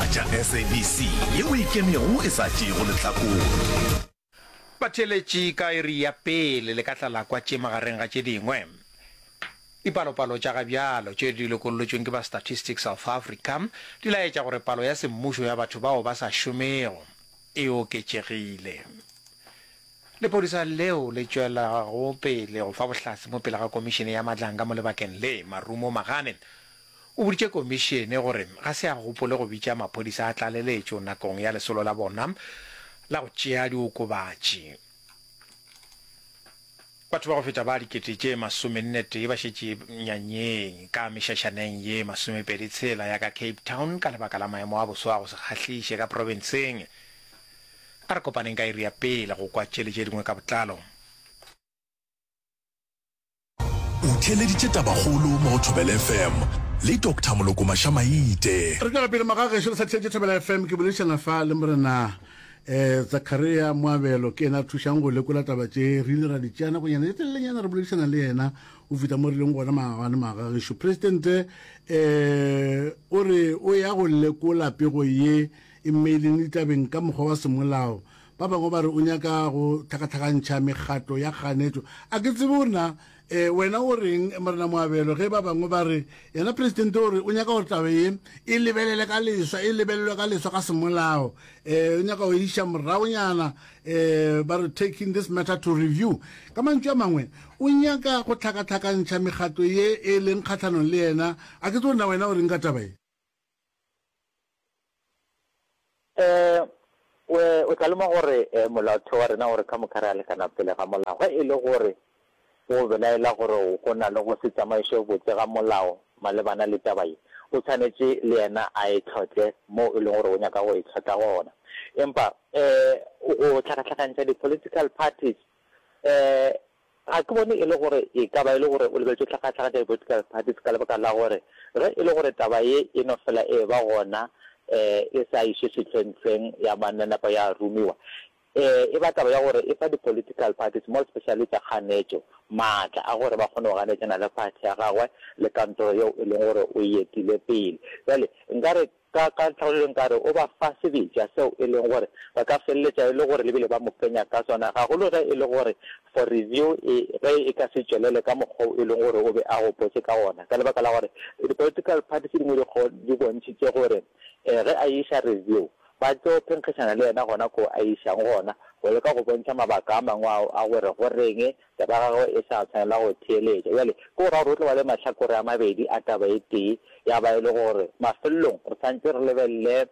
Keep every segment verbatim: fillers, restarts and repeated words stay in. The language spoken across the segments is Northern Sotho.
tša S A B C yeo e ikemego e sa tšeego lehlakore. Batheeletši ka iri ya pele le ka tla la kwa tše magareng ga tše dingwe. Dipalopalo tša ga bjalo tše di lokollotšweng ke ba Statistics South Africa di laetša gore palo ya semmušo ya batho bao ba sa šomego e oketšegile. Lepodisa leo le tšwelago pele go fa bohlatse mo pele ga Komišene ya Madlanga mo lebakeng le, Marumo Magane, o boditše komišene gore ga se a gopole go bitša maphodisa a tlaleletšo nakong ya lesolo la bona la go tšea diokobatši. Batho ba go feta ba dikete tše masomenne tee ba šetše nyanyeng ka mešašaneng ye masomepedi tshela ya ka Cape Town ka lebaka la maemo a boso a go se kgahliše ka profenseng. A re kopaneng ka iri ya pele go kwa tše le tše dingwe ka botlalo. O theeleditše Tabakgolo mo go Thobela F M le Doctor Moloko Mašamaite. Re tšwela pele magagešo, le sa theetše Thobela F M. Ke boledišana fa le Morena um Zakaria Moabelo, ke yena a thušang go lekola taba tše re ile ra di tšea nakonyana e telelenyana re boledišana le yena go fihla mo re leng gona maabane. Magagešo, presidente um o re o ya go lekola pego ye e mmeileng ditabeng ka mokgwa wa semolao. Ba bangwe ba re o nyaka go tlhakatlhakantšha mekgatlo ya kganetšo. A ke tsebe gore na um wena o reng, Morena Moabelo, ge ba bangwe ba re yena presidente o re o nyaka gore taba ye e lebelele ka leswa, e lebelelwe ka leswa ka semolao, um o nyaka go iša moragonyana, um ba re taking this matter to review. Ka mantšu a mangwe, o nyaka go tlhakatlhakantšha mekgatlo ye e leng kgatlhanong le yena. A ke tsebe gore na wena o reng ka taba ye. um o tla lemoga gore um molaotheo wa rena gore ka moka re a lekana pele ga molao. Ge e le gore o belaela gore go na le go se tsamaiše botse ga molao malebana le taba ye, o tshwanetše le yena a e tlhotle mo e leng gore o nyaka go e tlhotla gona. Empa um go tlhakatlhakantšha di-political parties, um ga ke bone e le gore e ka ba e le gore o lebeletše tlhakatlhakantšha di-political parties, ka lebaka la gore ge e le gore taba ye e no fela e ba gona, um e sa išwe sehlwenhlweng ya mananapa ya romiwa, um e ba taba ya gore e fa di-political parties, more especially tša kganetšo, maatla a gore ba kgone go ganetšana le party ya gagwe le kantoro yeo e leng gore o e etile pele. Jale nkare ka ka tlhabololo nkare o ba fa sebetša seo e leng gore ba ka feleletša e le gore lebile ba mo fenya ka sona, gagolo ge e le gore for review e ge e ka se tšwelele ka mokgwa o e leng gore o be a gopotse ka gona, ka lebaka la gore di-political parties tse dingwe di bontšhitše gore um ge a iša review ba tlo phenkgišana le yena gona ko a išang gona, go leka go bontšha mabaka a mangwe ao a gore goreng taba ya gagwe e sa tshwanela go theeletša. Bjale ke go ra gore o tlo ba le mahlakore a mabedi a taba e tee, ya ba e le gore mafelelong re santse re lebelele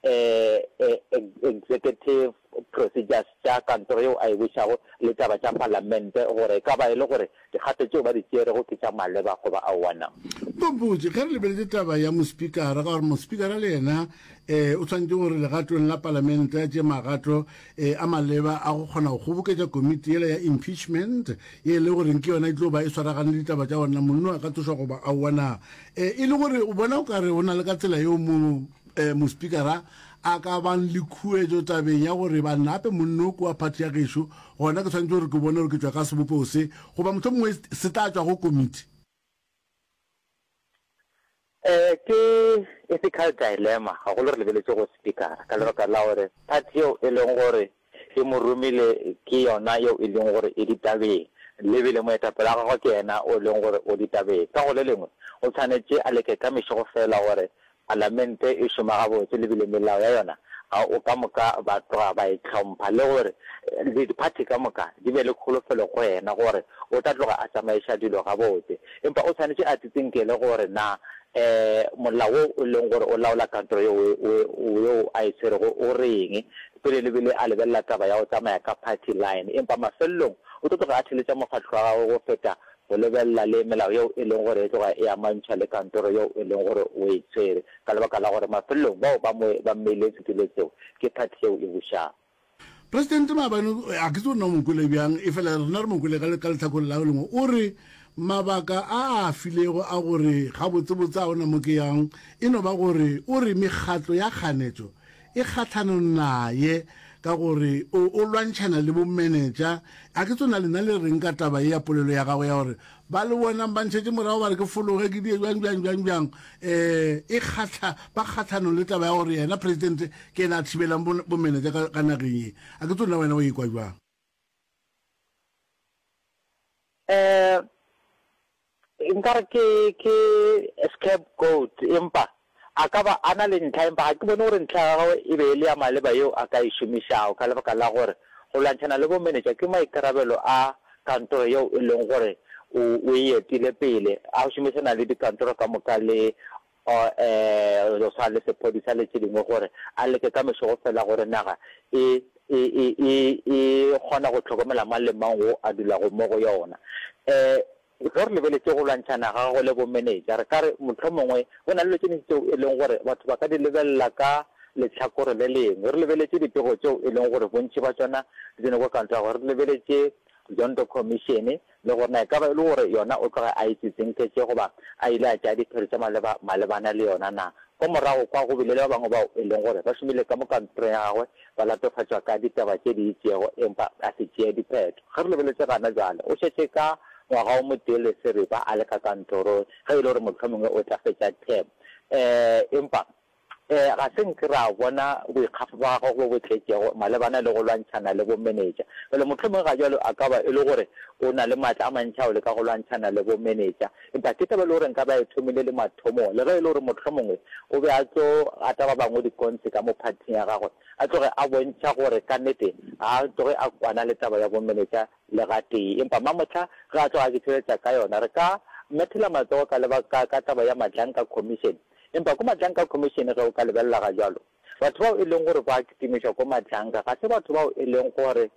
um executive procedures tša kantoro yeo a e bušago le taba tša palamente, gore e ka ba e le gore dikgato tšeo ba di tšerego ke tša maleba goba aowa na. Mpotše, ge re lebeletše taba ya mospikara, ka gore mospikara le yena um o tshwanetse gore legatong la palamente a tše magato um a maleba a go kgona go kgoboketša komiti yela ya impeachment ye e le goreng ke yona e tlo ba e swaragane le ditaba tša gona monno a ka tsošwa goba aowa na. um e le gore o bona o kare o na le ka tsela yeo mo um mospikara a ka bang le khuetšo tabeng ya gore bannape monno ko wa party ya gešo, gona ke tshwanetse gore ke bone gore ke tšwa ka sebopego se, goba mohlomongwe se tla tšwa go komiti? um ke ethical dilemma, gagolo re lebeletše go speakera, ka lebaka la gore party yeo e leng gore e mo romile ke yona yeo e leng gore e ditabeng, lebile moetapele wa gagwe ke yena o leng gore o ditabeng. Ka go le lengwe, o tshwanetše a leke ka mešego fela gore palamente e šoma gabotse, lebile melao ya yona ga o ka moka ba tloga ba e hlompha, le gore di-party ka moka di be le kholofelo go yena gore o tla tloga a tsamaiša dilo gabotse. Empa o tshwanetše a tsitsinkele gore na um molao wo o leng gore o laola kantoro yeo a e tshwerego o reng pele, lebile a lebelela taba ya go tsamaya ka party line. Empa mafelelong o tlo tloga a theletša mokgatlo wa gagwe go feta go lebelela le melao yeo e leng gore e tloga e amantšha le kantoro yeo e leng gore o e tshwere, ka lebaka la gore mafelelong bao ba mo ba mmeile setulo seo ke party yeo e bušago. Presidente maabane, a ke tse gore na o mo kwele bjang, e fela rena re mo kwele ka letlhakoreng la lengwe, o re mabaka a a filego a gore gabotsebotse a ona mo ke yang e no ba gore o re mekgatlo ya kganetšo e kgatlhanong naye. ka gore o, o lwantšhana le bomenetša. A ke tsona lena le reng ka taba ye ya polelo ya gagwe ya gore ba le bonang ba ntšhetše morago ba re ke fologe ke die bjang bjang bjang bjang um e kgahla ba kgahlanong le taba ya gore yena presidente ke yena a thibelang bomenetša ka, ka nageng ye. A ke tsona wena o ikwa bjang? Um Nkare ke, ke scapegoat, empa a ka ba a na le ntlha, empa ga ke bone gore ntlha ya gagwe e be e le ya maleba yeo a ka e šomišago, ka lebaka la gore go lwantšhana le bomenetša ke maikarabelo a kantoro yeo e leng gore o, o e etile pele, a šomišana le dikantoro ka moka le, um go swana le sephodisa le tše dingwe gore a leke ka mešogo fela gore naga e, e, e, e, e kgona go hlokomela mang le mang wo a dulago mo go yona. Um Ge re lebeletše go lwantšhana ga gagwe le bomenetša, re ka re mohlomongwe go na le dilo tše dintši tšeo e leng gore batho ba ka di lebelela ka lehlakore le lengwe. Re lebeletše dipego tšeo e leng gore bontši ba tšona di tsene kwa kantorong ya gagwe. Re lebeletše Zondo Commission le gore na e ka ba e le gore yona o tloga a e tsitsinketše goba a ile a tšea diphetho tša maleba malebana le yona na. Kwa morago kwa go bile le ba bangwe bao e leng gore ba šomile ka mo kantorong ya gagwe ba latofatšwa ka ditaba tše di itšego empa a se tšee diphetho. Ge re lebeletše gana bjale, o šetše ka ngwaga o motee le seripa a le ka kantorong, ge e le gore mohlomongwe o tla fetša term. Empa ga se nke ra bona boikgafo bja gagwe bo bo tletšego malebana le go lwantšhana le bomenetša. Bjale mohlomongwe ga bjalo a ka ba e le gore o na le matla a mantši a go leka go lwantšhana le bomenetša. Empa ke taba e le gore nka be a e thomile le mathomong, le ge e le gore mohlomongwe o be a tlo gata ba bangwe dikonse ka mo phathing ya gagwe, a tloge a bontšha gore ka nnete ga a tloge a kwana le taba ya bomenetša le gatee. Empa mamohla ge a tloga a ke ka yona, re ka methela matsogo ka lebaka ka taba ya Madlanka Commission. Empa ko Madlanka Commission ge o ka lebelela ga bjalo, batho bao e leng gore ba kitimišwa ko Madlanka ga se batho bao e leng gore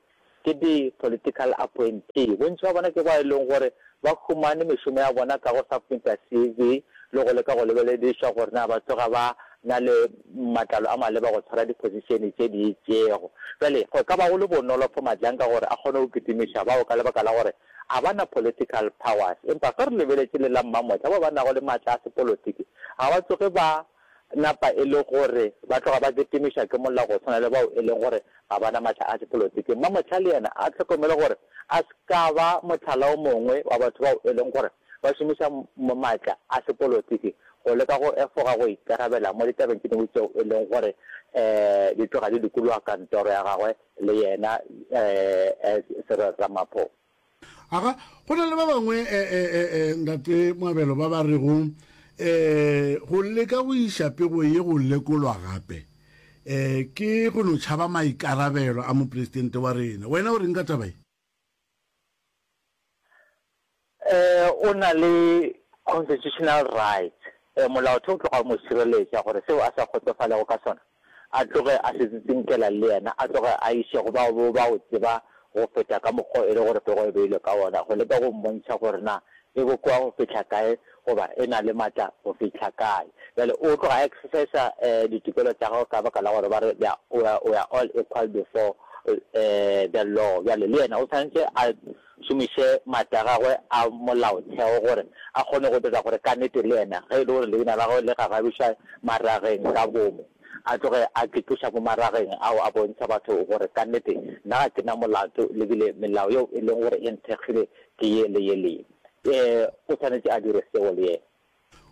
ke di-political appointee. Bontši ba bona ke bao e leng gore ba humane mešomo ya bona ka go submita C V le go leka go lebeledišwa gore na ba tloga ba na le matlalo a maleba go tshwara di-position tše di itšego. Bjale go ka ba go le bonolo for Madlanka gore a kgone go kitimiša bao ka lebaka la gore a ba na political powers. Empa ge re lebeletše le la Mmamotla, bao ba nago le matla a sepolotiki ga ba tsoge ba napa e le gore ba tloga ba kitimišwa ke molao go swana le bao e leng gore ga ba na matla a sepolotiki. Mmamotla le yena a hlokomele gore a se ka ba mohlala o mongwe wa batho bao e leng gore ba šomiša matla a sepolotiki go leka go efoga go ikarabela mo ditabeng tše dingwe tšeo e leng gore um di tloga di dikologa kantoro ya gagwe le yena um Cyril Ramaphosa. Aga, go na le ba bangwe Ntate Moabelo ba ba rego um go leka go iša pego ye go lekolwa gape um ke go no tšhaba maikarabelo a mopresidente wa rena. Wena o reng ka taba ye? Um o na le constitutional rights, molaotheo o tloga o mo šireletša gore seo a sa kgotsofalego ka sona a tloge a se tsitsinkela le yena, a tloge a iše go bao ba go tseba go feta ka mokgwa e le gore pego e beilwe ka wona, go leka go mmontšha gore na e bokoa go fihla kae goba e na le matla go fihla kae. Bjale o tloga a exercisa ditokelo tša gagwe ka baka la gore ba re we are, we are all equal before the law. Bjale le yena o swanetše a šomiše matla a gagwe a molaotheo gore a kgone go dira gore ka nnete le yena ge e le gore leina la gagwe le gagabišwa marageng ka bomo, a tloge a ke tloša mo marageng ao a bontšha batho gore ka nnete nna ga ke na molato le bile melao yeo e leng gore e nthekgile ke ye le ye le ye. Ee, o swanetše a dire seo le yena.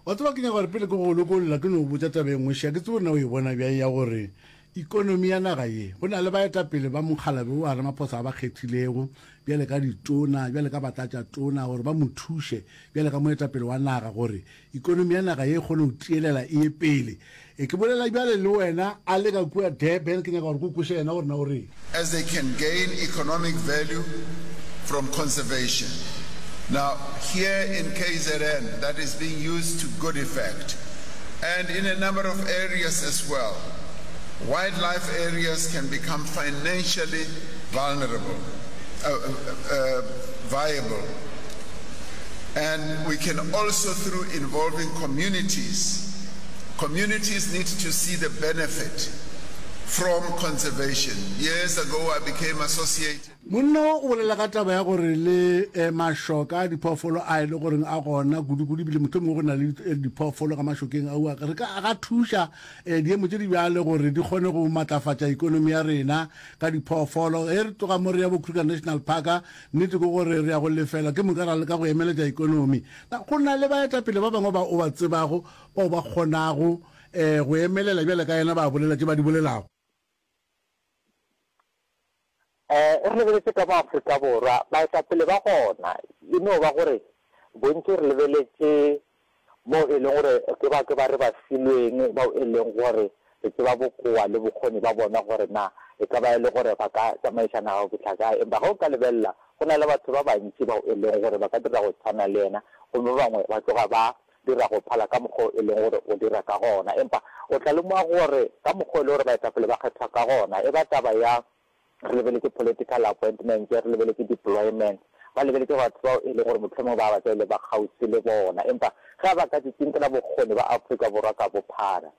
Wa tseba, ke nyaka gore pele ke go lokolla ke no go botša taba e nngwe. Šia, ke tsebe gore na o e bona bjang ya gore ikonomi ya naga ye, go na le baetapele ba mokgalabje wo a Ramaphosa a ba kgethilego bjale ka ditona, bjale ka batlatšatona gore ba mo thuše bjale ka moetapele wa naga gore ikonomi ya naga ye e kgone go tielela e ye pele. E, ke bolela bjale le wena a le ka kua Durban, ke nyaka gore ke o kweše yena gore na o reng. As they can gain economic value from conservation. Now, here in K Z N, that is being used to good effect, and in a number of areas as well. Wildlife areas can become financially vulnerable, uh, uh, uh, viable. And we can also, through involving communities, communities need to see the benefit from conservation. Years ago I became associated. Monna wo o bolela ka taba ya gore le mašoka a diphoofolo a e le goreng a gona kudu-kudu ebile mohlomongwe go na le diphoofolo ka mašokeng aua re ka a ka thuša diemo tše di bjale gore di kgone go matlafatša ikonomi ya rena ka diphoofolo. Ge re tloga mo re ya bo Kruger National Park, nnete ke gore re ya go lefela ke moka ra leka go emeletša ikonomi. Na go na le baetapele ba bangwe ba o ba tsebago bao ba kgonago go emelela bjale ka yena ba bolela tše ba di bolelago? Re lebeletše ka mo Afrika Borwa, baetapele ba gona e no ba gore bontši re lebeletše mo e leng gore ke ba ke ba re ba filweng bao e leng gore re tseba bokoa le bokgoni ba bona gore na e ka ba e le gore ba ka tsamaiša naga go fihla kae. Empa ge o ka lebelela go na le batho ba bantši bao e leng gore ba ka dira go tshwana le yena gomme ba bangwe ba tloga ba dira go phala ka mokgwa o e leng gore o dira ka gona. Empa o tla lemoga gore ka mokgwa o e le gore baetapele ba kgethwa ka gona e ba taba ya re lebeletše political appointments, re lebeletše deployments, ba lebeletše batho bao e leng gore mohlomongwe ba ba tla e le ba kgauswi le bona. Empa ge ba ka tsitsinkela bokgoni ba Afrika Borwa ka bophara,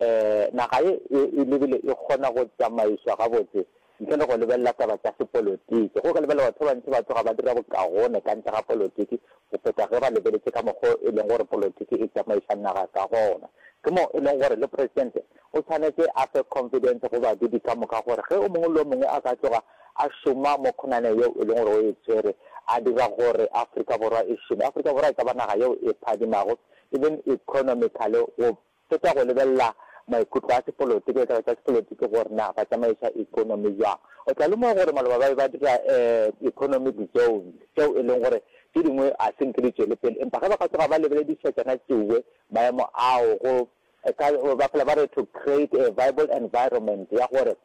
um naga ye e lebile e kgona go tsamaišwa gabotse ntle le go lebelela taba tša sepolotiki. Ge o ka lebelela batho ba bantši ba tloga ba dira bokagone ka ntle ga polotiki go feta ge ba lebeletše ka mokgwa o e leng gore polotiki e tsamaiša naga ka gona. Ke mo e leng gore le Presidente o swanetše a fe confidence go badudi ka moka gore ge o mongwe le o mongwe a ka tloga a šoma mo khonaneng yeo e leng gore o e tshwere, a dira gore Afrika Borwa e šome. Afrika Borwa e ka ba naga yeo e phadimago even economically go feta go lebelela maikutlo a sepolotiki le taba tša sepolotiki gore na ba tsamaiša economy bjang. O tla lemoga gore maloba ba be ba dira economic zones tšeo e leng gore tše dingwe a se nke di tšwele pele empa ge ba ka tloga ba lebelediša tšona tšeoe maemo ao go ka ba fela ba re to create a viable environment ya gore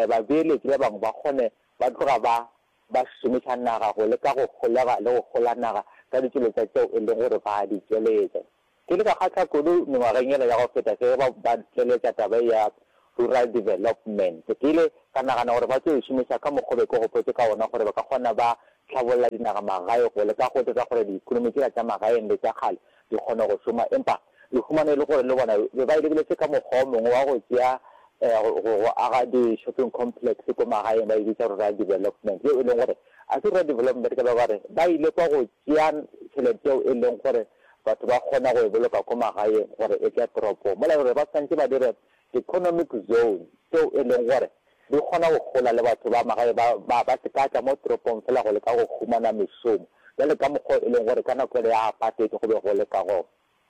babeeletši ba bangwe ba kgone ba tloga ba ba šomiša naga go leka go holega le go hola naga ka ditšweletša tšeo e leng gore ba di tšweletša. Ke ile ka kgahla kudu mengwageng yela ya go feta ge ba ba tšweletša taba ye ya rural development. Ke ile ka nagana gore ba tlo e šomiša ka mokgwa o be ke gopotše ka wona gore ba ka kgona ba hlabolla dinagamagae go leka go dira gore diikonomi tšela tša magaeng le tša kgale di kgone go šoma. Empa re humane e le gore le bona be ba e lebeletše ka mokgwa o mongwe wa go tšea go, go aga di-shopping complex ko magaeng ba e bitša rural development, yeo e leng gore a se rural development ka baka gore ba ile kwa go tšea tšhelete yeo e leng gore batho ba kgona go e boloka ko magaeng gore e tle toropong, mola gore ba swanetše ba dire economic zone tšeo e leng gore di kgona go gola le batho ba magae ba, ba, ba se ka tla mo toropong fela go leka go humana mešomo, bjale ka mokgwa o e leng gore ka nako yela ya apartheid go be go le ka gona.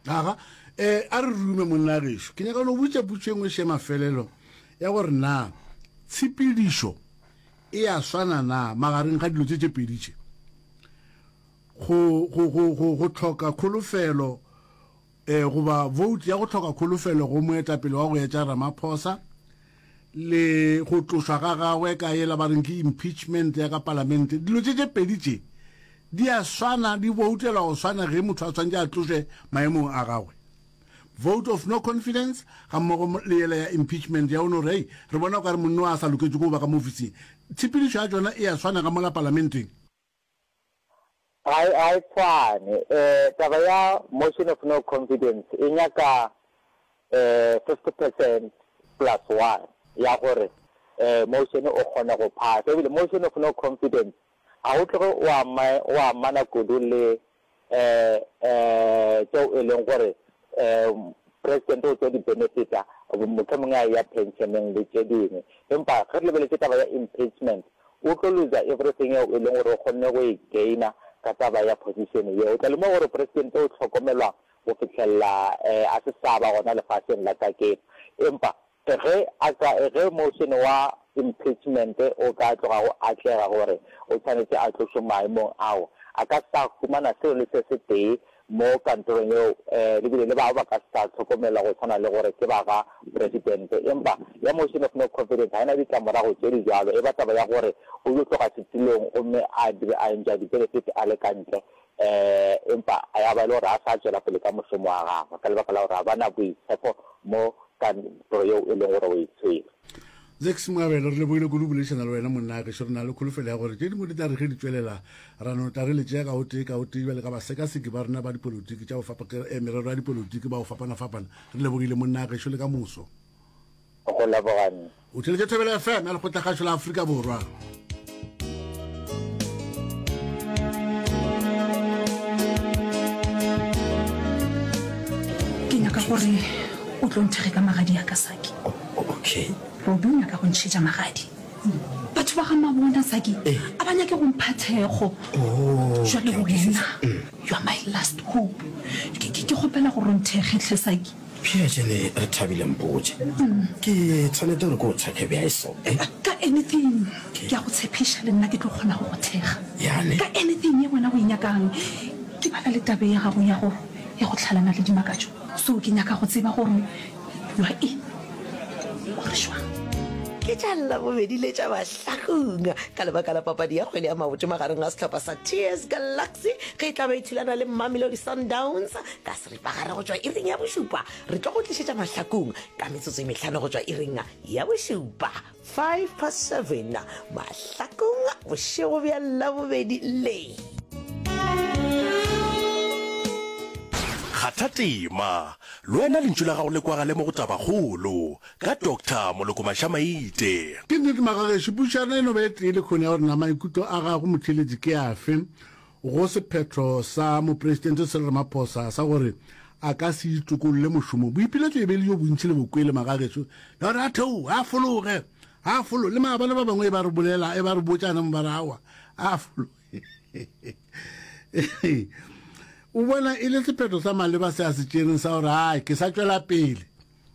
Aga, e, a re rume monna gešo. Ke nyaka go no botša potšo e nngwe še mafelelo ya gore na tshepedišo e a swana na magareng ga dilo tše tše pedi tše. Go, go, go, go, go hloka kholofelo, e, goba vote ya go hloka kholofelo go moetapele wa go etša Ramaphosa, le go tlošwa ga gagwe ka yela ba reng ke impeachment ya ka palamente. Dilo tše tše pedi tše di a swana, di voutelwa go swana ge motho a swanetše a tlošwe maemong a gagwe. Vote of no confidence ga mmogo le yela ya impeachment ya o no re, hei, re bona o ka re monno a sa loketše ko ba ka mo ofising. Tshepedišo ya tšona e a swana ka mola palamenteng. Ga e, ga e tshwane. Um taba ya motion of no confidence e nyaka um fifty percent plus one ya gore um motion o kgone go phasa. Ebile motion of no confidence ga o tloge o ama, o amana kudu le um um tšeo e leng gore um president o tlo di benefita, mohlomongwe a eya pensioneng le tše dingwe. Empa ge re lebeletše taba ya impeachment, o tlo loser everything yeo e leng gore o kgonne go e gaina ka taba ya position yeo. O tla lemoga gore president o hlokomelwa go fihlelela um a se sa ba gona lefaseng la kajeno. Empa ge a ka, ge motion wa impeachment o ka tloga go atlega gore o tshwanetše a tlošwe maemong ao, a ka sa humana selo le se se tee mo kantorong yeo, um le bile le bao ba ka sa hlokomelwa go tshwana le gore ke ba ga presidente. Empa ya motion of no confidence ga e na ditlamorago tše di bjalo, e ba taba ya gore o yo tloga setulong gomme a dire a enjoya di-benefit a le ka ntle, um empa ya ba e le gore a sa tšwela pele ka mošomo wa gagwe ka lebaka la gore ga ba na boitshepo mo kantoro yeo e leng gore o e tshwere. Zakes Moabelo, re lebogile kudu boledišana le wena monna gešo. Re na le kholofelo ya gore tše dingwe di tla re ge di tšwelela ra no tla re le tšea ka o tee ka o tee bjale ka basekaseki ba rena ba dipolotiki tša go fapa eh, merero ya dipolotiki ba go fapana-fapana. Re lebogile monna gešo le ka moso. Go leboga nna. O theletše Thobela F M ya Lekgotlakgašo la Afrika Borwa. Ke nyaka gore o tlo nthekge ka magadi a ka, Saki. Okay. Robi o nyaka go ntšhetša magadi. Batho ba ga Mabona, Saki, a ba nyake go mpha thekgo. Jwale wena, you are my last hope. Ke, ke, ke kgopela gore o nthekge hle, Saki. Bjale re thabile mpotše. Ke tshwanete gore ke o thekge bjang so? Eh? Ka anything. Ke a go tshepiša le nna ke tlo kgona go go thekga. Yane. Ka anything ye wena o e nyakang. Ke bala le tabe ya gago ya go ya go hlalana le Dimakatšo. So ke nyaka go tseba gore you are in or jwang. Ke tša Labobedi le tša Mahlakung ka lebaka la papadi ya kgwele ya maoto magareng ga sehlopha sa T S Galaxy ge e tla be e thulana le Mamelodi Sundowns ka seripagare go tšwa iring ya bošupa. Re tlo go tlišetša Mahlakung ka metsotso e mehlano go tšwa iring ya bošupa, five past seven, Mahlakung bošego bja Labobedi le. Kgatha tema, le wena lentšu la gago le kwagale mo go Tabakgolo, ka Doctor Moloko Mašamaite. Ke nnete magagešo, pušo ya rena e no ba e tee le kgone ya gore na maikutlo a gago motheeletši ke afe go sephetho sa Mopresidente Cyril Ramaphosa sa gore a ka se itokolle mošomong. Boipiletšo e be e le jo bontši le bokwele magagešo ya gore a theoge, a fologe, a fologe. Le maabane ba bangwe e ba re bolela, e ba re botšana mo ba re aowa, a fologe. O bona e le sephetho sa maleba se a se tšereng sa gore ai ke sa tšwela pele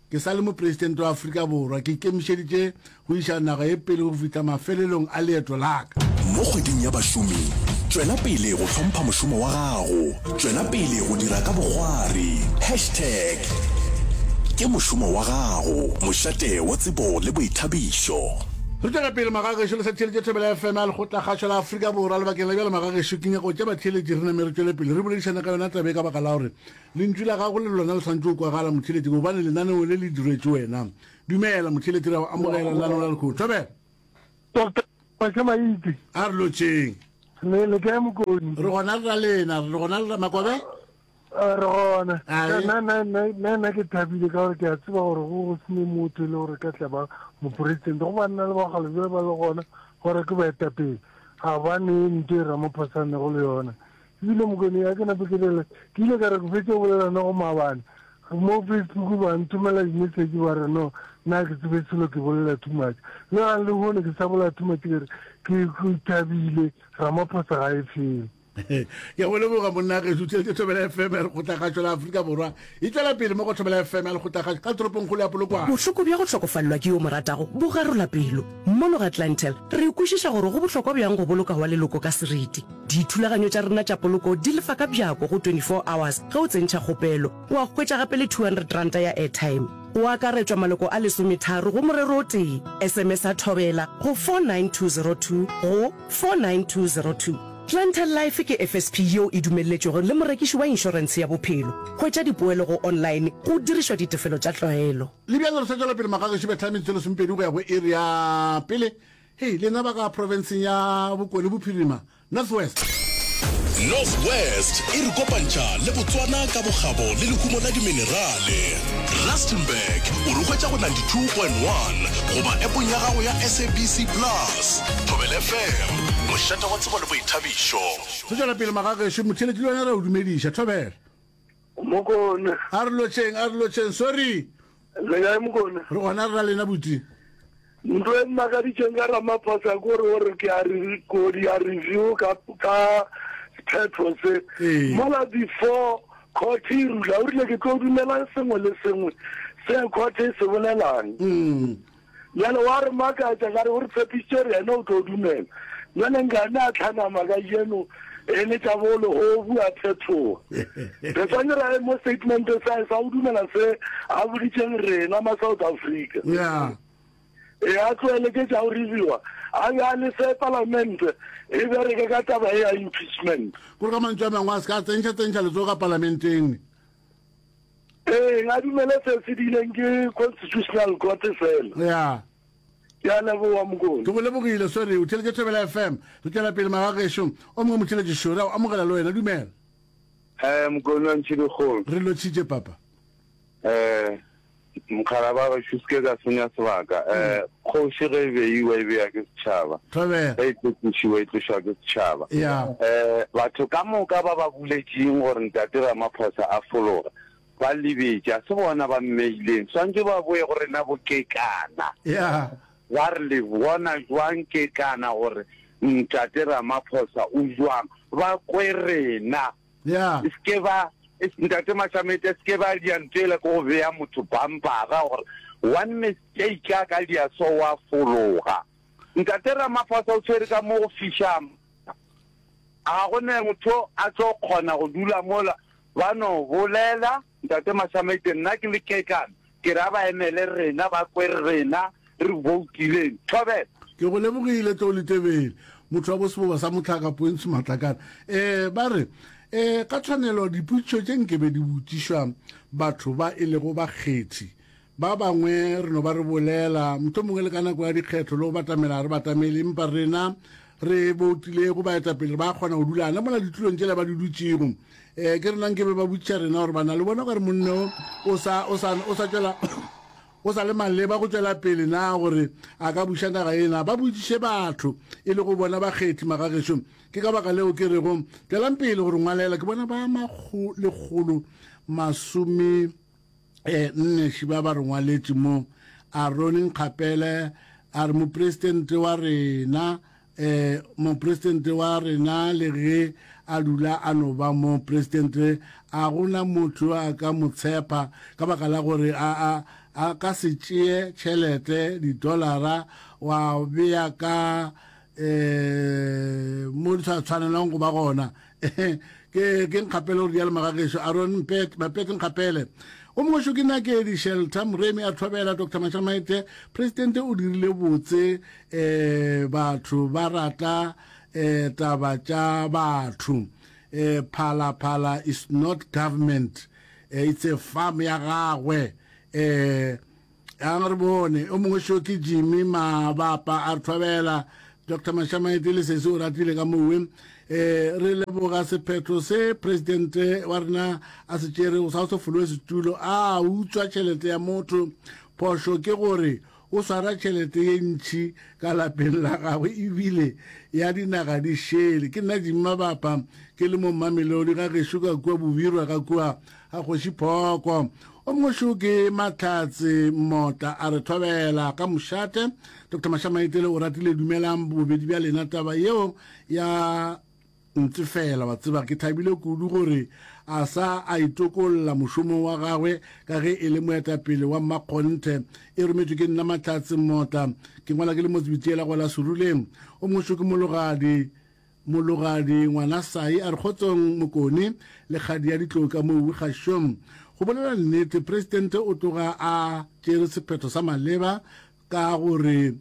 ke sa le mopresidente wa Afrika Borwa, ke ikemišeditše go iša naga ye pele go fihla mafelelong a leeto la ka. Mo kgweding ya bašomi, tšwela pele go hlompha mošomo wa gago, tšwela pele go dira ka bokgwari. Hashtag ke mošomo wa gago, mošate wa tsebo le boithabišo. Re tšwela pele magagešo le sa theeletše Thobela F M ya Lekgotlakgašo la Afrika Borwa. Lebakeng la bjale magagešo ke nyaka go tša batheeletši re name re tšwele pele re boledišane ka yona taba e ka baka la gore lentšu la gago le lona le swanetše go kwagala motheeletši gobane lenaneo le le diretšwe wena. Dumela motheeletši, re a go amogela lenaneo la lekgono. Thobela. Doctor Mašamaite. A re lotšeng. Le le kae Mokoni? Re gona le ra lena, re gona le ra Makobe? Re gona. Ae. Nna, nna, nna, nna, nna ke thabile ka gore ke a tseba gore go go sene motho e le gore ka tla ba mopresidente. Go banna le bagale bjale ba le gona gore ke baetapele. Ga ba nee ntho e Ramaphosa a nego le yona. Ebile Mokoni ya ke nape ke lele, ke ile ka re ke fetše go bolela ne go maabane. Mo Facebook ba nthomela di-message ba re no, nna ke tsebe selo ke bolela too much. Le gang le hono ke sa bolela too much ke re ke ke thabile Ramaphosa ga e fele. Ke go leboga monna gešo, tšhelete Thobela F M ya Lekgotlakgašo la Afrika Borwa e tšwela pele mo go Thobela F M ya Lekgotlakgašo ka toropongkgolo ya Polokwane. Bohloko bja go hlokofalelwa ke yo mo ratago bo garola pelo. Mono ga Clientele, re kwešiša gore go bohlokwa bjang go boloka wa leloko ka seriti. Dithulaganyo tša rena tša poloko di lefa ka bjako go twenty-four hours ge o tsentšha kgopelo, wa hwetša gape le two hundred ranta ya airtime. Go akaretšwa maloko a lesometharo go morero o tee. S M S a Thobela go four nine two zero two go four nine two zero two. Clientele Life ke F S P yeo e dumelletšwego le morekiši wa inšorentshe ya bophelo. Hwetša dipoelo go online go dirišwa ditefelo tša tlwaelo. Le bjale re sa tšwela pele magagešo betha metsotso e lesomepedi go ya go iri ya pele. Hei, lena ba ka profenseng ya Bokone Bophirima, North West. North West e re kopantšha le Botswana ka bokgabo le lehumo la diminerale. Rustenburg o re hwetša go ninety-two point one goba appong ya gago ya S A B C Plus. Thobela F M, mošate wa tsebo le boithabišo. Re tšwela pele magagešo, motheeletši le wena re a o dumediša. Thobela. Mokone. A re lotšheng, a re lotšheng, sorry. Le kae Mokone? Re gona re ra lena buti. Ntho e mmakaditšeng ka Ramaphosa ke gore o re ke a re ko di a review ka ka sephetho se. Ee. Mola before court e rula o rile ke tlo dumela sengwe le sengwe se court e se bolelang. Mm. Bjale wa re makatša ka re o re tshepišitše gore yena o tlo dumela. Bjale nkane a tlhanama kajeno e le tša bo lehobu a phethoga. Re swanetše ra ye mo statement sa sa o dumela se a boditšeng rena ma South Africa. Yeah. E a tlohele ke tša go reviewa, a be a lese palamente e bereke ka taba e ya impeachment. Kore ka mantšu a mangwe a se ka a tsentšha tsentšha letsogo ka palamenteng. Ee, a dumele se se dileng ke Constitutional Court fela. Yeah. Ke a leboga Mokone. Ke go lebogile, sorry, o theletše Thobela F M. Re tšwela pele magagešo. O mongwe motheletši šo, re a o amogela le wena, dumela. Eh, Mokone wa Ntšhidikgolo. Re lotšhitše papa. Eh, mokgalaba gešo se ke ka senya sebaka. Eh, Kgoši ge e beiwa e bewa ke setšhaba. Thobela. Ge e tlo tlošiwa e tlošwa ke setšhaba. Ya. Eh, batho ka moka ba ba boletšeng gore Ntate Ramaphosa a fologe, ba lebetše, a se bona ba mmeileng. Swantše ba boe go rena bo Kekana. Ya. Ba re le bona jwang Kekana gore Ntate Ramaphosa o jwang? Ba kwe rena. Ya. E se ke ba, e, Ntate Mashamete, e se ke ba dia ntho ela ke go bea motho bumpara gore one mistake a ka dia so wa fologa. Ntate Ramaphosa o tshwere ka mo go fiša. Ga go ne motho a tlo kgona go dula mola ba no bolela. Ntate Mashamete, nna ke le Kekana, ke re a ba emele rena, ba kwe rena re voutileng. Thobela. Ke go lebogile, Tlou Letebele, motho wa bo seboba sa mohlaka Pointsho Matlakane. Eh, ba re, eh, ka tshwanelo dipotšišo tše nke be di botšišwa batho ba e lego bakgethi. Ba bangwe re no ba re bolela, mohlomongwe le ka nako ya dikgetho le go batamela ga re batamele, empa rena re boutilego baetapele ba kgona go dula gana mola ditulong tšela ba di dutšego. Eh, ke rena nke be ba botšiša rena gore bana le bona gore monne o, o sa, o sa, o sa tšwela, o sa le maleba go tšwela pele na gore a ka buša naga ye na. Ba botšiše batho e le go bona bakgethi magagešo. Ke ka baka leo ke rego tšwelang pele gore ngwalela. Ke bona ba makgo, lekgolo masome, eh, nne šiba ba re ngwaletše mo. Aaron Nkgapele a re mopresidente wa rena, eh, mopresidente wa rena le ge a dula a no ba mopresidente, a gona motho a ka mo tshepa ka baka la gore a, a, a ka se tšee tšhelete di-dollara wa bea ka, eh, mo di sa tshwanelang go ba gona. Ke, ke Nkgapele gore dialo magagešo. Aaron Mpete, Mapete Nkgapele. O mongwe šo ke Nakedi Shelter Moremi a thobela Doctor Mashamaite. Presidente o dirile botse, eh, batho ba rata, eh, taba tša batho. Eh, Phala Phala is not government. Eh, it's a farm ya gagwe. Eh, a re bone. O mongwe šo ke Jimmy Mabapa a thobela Doctor Mashamaite le sese o ratile ka mowe. Eh, re leboga sephetho se presidente wa rena a se tšerego sa go se fologe setulo, a utswa tšhelete ya motho. Phošo ke gore o swara tšhelete ye ntši ka lapeng la gagwe ebile ya dinaga di šele. Ke nna Jimmy Mabapa ke le mo Mamelodi ga gešo ka kua Bobirwa ka kua ga Kgoši Phoko. O mongwe šo ke Mahlatse Mota a re thobela ka mošate. Doctor Mashamaite le o ratile, dumelang bobedi bja lena. Taba yeo ya ntse fela wa tseba ke thabile kudu gore a sa a itokolla mošomo wa gagwe ka ge e le moetapele wa mmakgonthe. E rometšwe ke nna Mahlatse Mota, ke ngwala ke le motsebitiela go la Seruleng. O mongwe šo ke Mologadi, Mologadi ngwana Sai a re kgotsong Mokone le kgadi ya ditlou ka moo kgašong. Go bolela nnete, presidente o tloga a tšere sephetho sa maleba ka gore,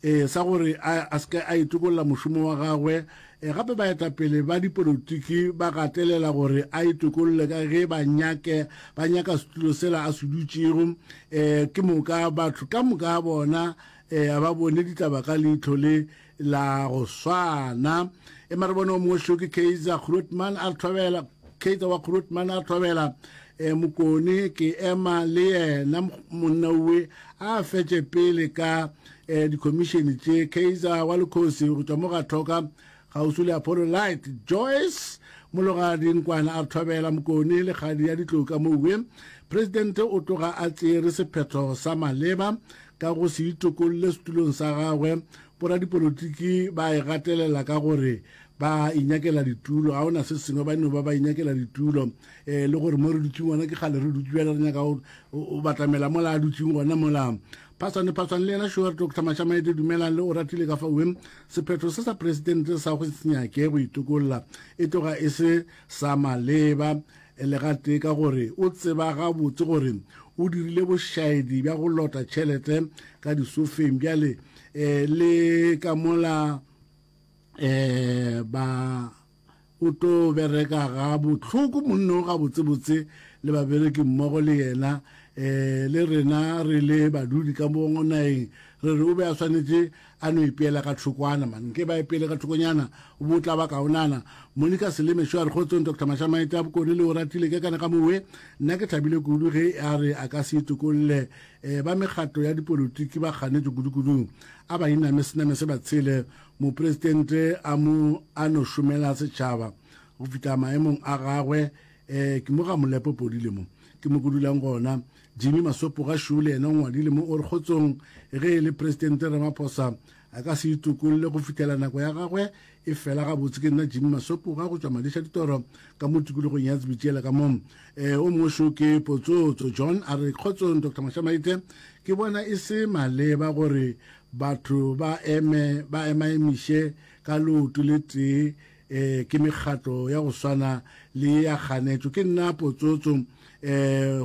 eh, sa gore a, a se ke a itokolla mošomo wa gagwe. Eh, gape baetapele ba dipolotiki ba gatelela gore a itokolle ka ge ba nyake, ba nyaka setulo sela a se dutšego. Eh, ke moka batho ka moka bona, eh, a ba bone ditaba ka leihlo le la go swana. E mare bone o mongwe šo ke Kaizer Grootman a thobela, Kaizer wa Grootman a thobela, eh, Mokone ke ema le yena monna owe a fetše pele ka, eh, di-commission tše. Kaizer wa Lekgosi go tšwa mo ga Thoka kgauswi le Apollo Light. Joyce Mologadi Nkwana a thobela Mokone le kgadi ya ditlou ka mowe. Presidente o tloga a tšere sephetho sa maleba ka go se itokolle setulong sa gagwe. Boradipolotiki ba e gatelela ka gore ba inyakela ditulo, ga ona se sengwe, ba no ba ba inyakela ditulo. Eh, le gore mo re dutšeng gona ke kgale re dutše bjale, re nyaka go, go batamela mola a dutšeng gona mola. Phaswane, Phaswane le yena šo re Doctor Mashamaite dumelang le o ratile ka fao. Sephetho se sa presidente sa go se nyake go itokolla e tloga e se sa maleba le gatee, ka gore o tseba gabotse gore o dirile bošaedi bja go lota tšhelete ka disofeng. Bjale, eh, le ka mola, eh, ba o tlo bereka ga bohloko monno ga botsebotse le babereki mmogo le yena. um le rena re le badudi ka mo nageng re re o be a swanetše a no ipeela ka thokwana man nke ba ipeele ka thokonyana o bo tla ba kaonana monica seleme šo a re kgotsong dr mashamaite a bokone le o ratile ke kana ka mowe nna ke thabile kudu ge a re a ka se itokolle um ba mekgatlo ya dipolotiki ba kganetše kudu-kudung a ba iname sename se ba tshele mopresidente a mo a no šomela setšhaba go fihla maemong a gagwe um ke mo ga molepo podile mo ke mo ko dulang gona jimmy masopo ga šo le yena o ngwadile mo o re kgotsong ge e le presidente ramaphosa a ka se itokolle go fihlela nako ya gagwe e fela gabotse ke nna jimmy masopo ga go tšwa madiša ditoro ka mo tikologong ya tsebitšela ka mo um o mongwe šo ke potsotso john a re kgotsong dr mashamaite ke bona e se maleba gore batho ba eme ba emaemiše ka leoto le tee um ke mekgatlo ya go swana le ya kganetšo ke nna potsotso um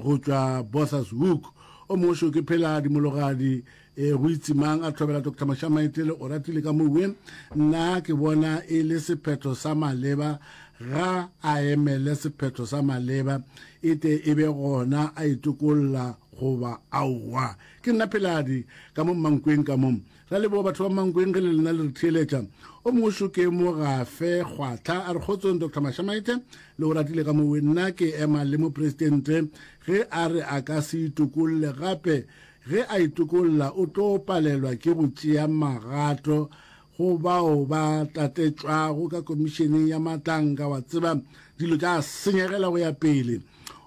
go tšwa bothas hook o mongwe šo ke phela dimologadi um go itsemang a thobela dr mashamaitele o ratile ka mowe nna ke bona e le sephetho sa maleba ga a emele sephetho sa maleba e te e be gona a itokolla goba aowa ke nna pheladi ka mo mmankweng ka mo ra leboga batho ba mankweng ge le lena le re theeletša o mongwe šo ke mogafe kgwatlha a re kgotsong dr mashamaite le o ratile ka mowe nna ke ema le mopresidente ge a re a ka se itokolle gape ge a itokolla o tlo palelwa ke go tšea magato go bao ba tatetšwago ka komišeneng ya matlanka wa tseba dilo tša senyegela go ya pele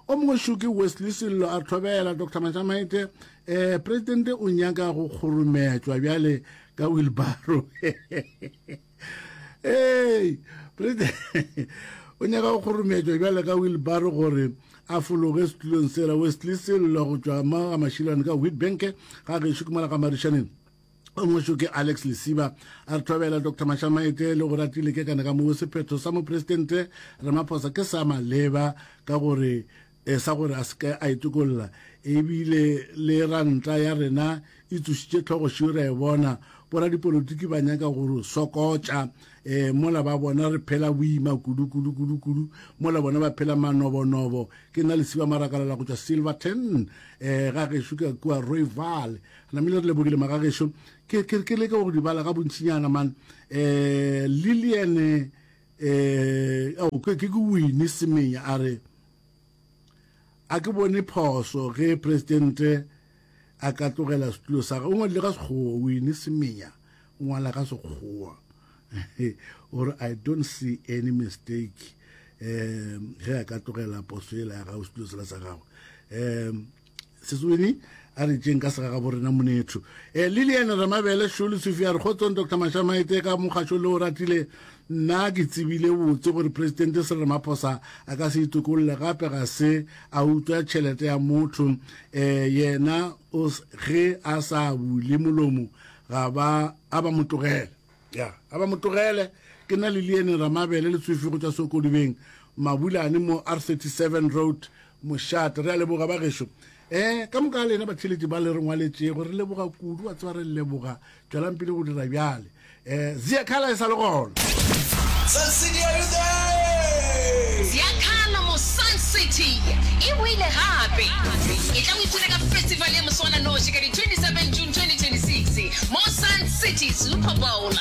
o mongwe šo ke wesley sello a thobela dr mashamaite um presidente o nyaka go kgorometšwa bjale ka wheelbarrow ee president o nyaka go kgorometšwa bjale ka wheelbarrow gore a fologe setulong sela wesley sello go tšwa mo ga mašilwane ka witbank ga gešo ke mola ga marišaneng o mongwe šo ke alex lesiba a re thobela dr mashamaite le go ratile ke kana ka moo sephetho sa mopresidente ramaphosa ke sa maleba ka gore e sa gore a se ke a itokolla ebile le ranta ya rena e tsošitše tlhogo šio re e bona boradipolotiki ba nyaka gore sokotša um mola ba bona re phela boima kudu kudu kudu kudu mola bona ba phela manobonobo ke nna lesiba marakalela go tšwa silverton um ga gešo ka kua royval namile re lebogile magagešo ke ke ke leke go di bala ga bontšinyana man um lilian um ke ke wine semenya a re a ke bone phoso ge presidente a ka tlogela setulo sa gagwe o ngwadile ka sekgowa wine semenya o ngwala ka sekgowa ore i don't see any mistake um ge a ka tlogela poso ela ya gago setulo sela sa gagwe um sesweni a re tšeng ka sega ga borena monetho um lilian ramabele šolo sofi a re kgotsong dr mashamaite ka mokgašo le o ratile nna ke tsebile botse gore presidente Cyril Ramaphosa a ka se itokolle gape ga se a utswa tšhelete ya motho um yena o ge a sa bule molomo ga ba a ba mo tlogele ya a ba mo tlogele ke nna lilian ramabele le tsofi go tšwa sokodibeng mabulane mo r thirty-seven road mošate re a leboga ba gešo um ka moka lena batheletši ba le re ngwaletšego re leboga kudu wa tseba re leboga tšwelang pele go dira bjale um ziakhala e sa le gona Sun City, are you there? Ziakhala mo Sun City e boile gape. E tla o ipshine ka festival ya moswananoši ka di twenty-seven June twenty twenty-six mo Sun City Super Bowl.